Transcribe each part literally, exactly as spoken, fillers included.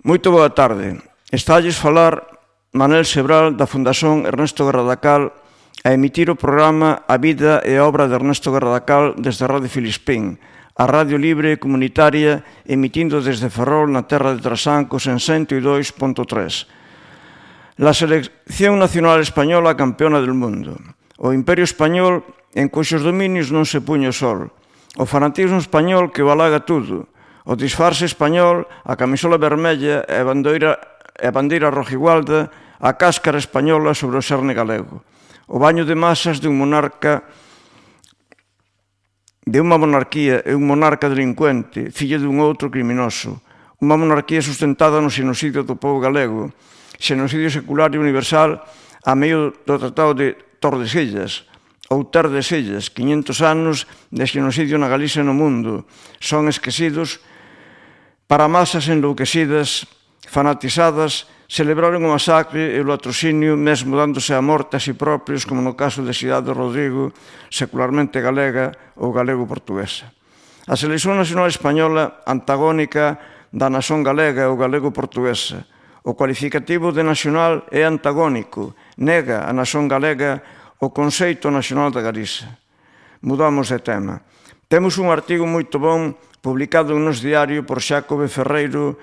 Moito boa tarde. Estalles falar Manel Sebral da Fundación Ernesto Garradacal a emitir o programa A vida e a obra de Ernesto Garradacal desde Radio Filispín, a radio libre comunitaria emitindo desde Ferrol na terra de Trasancos en cento e dous punto tres. La selección nacional española campeona del mundo. O Imperio Español en cuxos dominios non se puño o sol. O fanatismo español que o alaga tudo. O disfarce español, a camisola vermella e a bandeira, a bandeira rojigualda, a cáscara española sobre o xerne galego. O baño de masas de un monarca, de unha monarquía e un monarca delincuente, fillo dun outro criminoso. Unha monarquía sustentada no xenocidio do povo galego, xenocidio secular e universal a medio do Tratado de Tordesillas, ou Terdesillas, quinhentos anos de xenocidio na Galicia e no mundo. Son esquecidos para masas enlouquecidas, fanatizadas, celebraron o masacre e o latrocinio, mesmo dándose a morte a si propios, como no caso de Cidade de Rodrigo, secularmente galega ou galego-portuguesa. A selección nacional española, antagónica da nación galega ou galego-portuguesa. O cualificativo de nacional é antagónico, nega a nación galega o conceito nacional da Galiza. Mudamos de tema. Temos un artigo moito bon publicado en Nos Diario por Xácobe Ferreiro,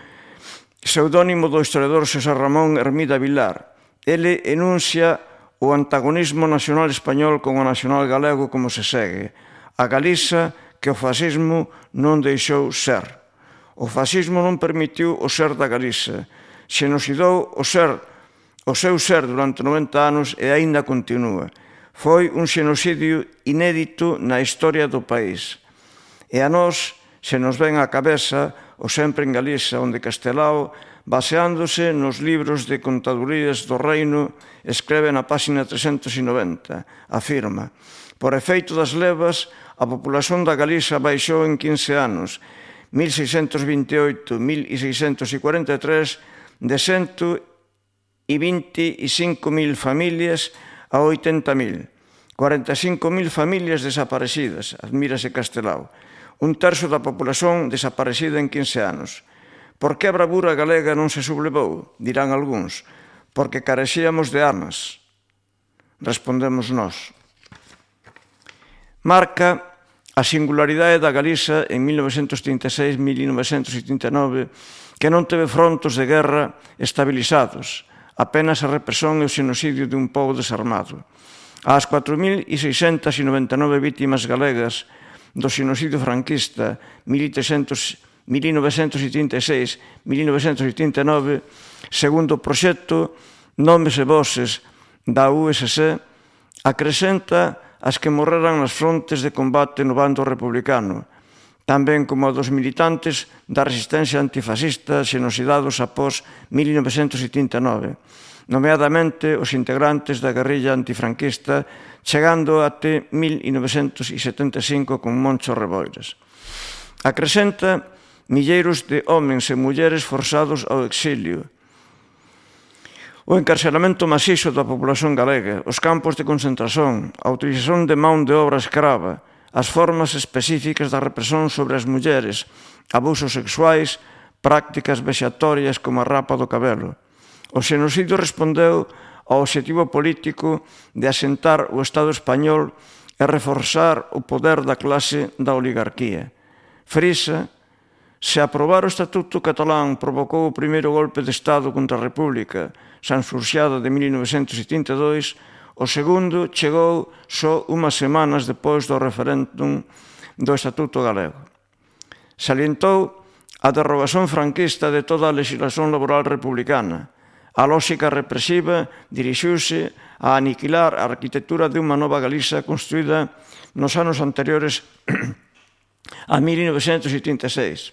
pseudónimo do historiador Xosé Ramón Hermida Vilar. Ele enuncia o antagonismo nacional español con o nacional galego como se segue. A Galiza que o fascismo non deixou ser. O fascismo non permitiu o ser da Galiza. Xenocidou o ser, o seu ser durante noventa anos e aínda continúa. Foi un xenocidio inédito na historia do país. E a nós se nos ven á cabeza o sempre en Galiza, onde Castelao, baseándose nos libros de contadurías do reino, escreve na páxina trescentos e noventa, afirma: por efeito das levas, a populación da Galiza baixou en quince anos, mil seiscentos vinte e oito a mil seiscentos cuarenta e tres, de cento e vinte e cinco mil familias a oitenta mil, cuarenta e cinco mil familias desaparecidas, admírase Castelao. Un terzo da populación desaparecida en quince anos. Por que a bravura galega non se sublevou? Dirán algúns. Porque carecíamos de armas. Respondemos nós. Marca a singularidade da Galiza en mil novecentos trinta e seis a mil novecentos trinta e nove que non teve frontos de guerra estabilizados, apenas a represión e o xenocidio de un pobo desarmado. As catro mil seiscentas noventa e nove vítimas galegas do xenocidio franquista mil novecentos trinta e seis a mil novecentos trinta e nove, segundo o proxecto Nomes e Voces da U S C, acrescenta as que morreran nas frontes de combate no bando republicano, tamén como a dos militantes da resistencia antifascista xenocidados após mil novecentos trinta e nove, nomeadamente os integrantes da guerrilla antifranquista, chegando até mil novecentos setenta e cinco con Moncho Reboiras. Acrescenta milleiros de homens e mulleres forzados ao exilio, o encarceramento masizo da populación galega, os campos de concentración, a utilización de man de obra escrava, as formas específicas da represión sobre as mulleres, abusos sexuais, prácticas vexatorias como a rapa do cabelo. O xenocidio respondeu ao obxectivo político de asentar o Estado español e reforzar o poder da clase da oligarquía. Frisa, se aprobar o Estatuto catalán provocou o primeiro golpe de Estado contra a República, sansurxiada de mil novecentos trinta e dous, o segundo chegou só unhas semanas depois do referéndum do Estatuto galego. Salientou a derrogación franquista de toda a legislación laboral republicana. A lógica represiva dirixiuse a aniquilar a arquitectura de unha nova Galiza construída nos anos anteriores a mil novecentos trinta e seis.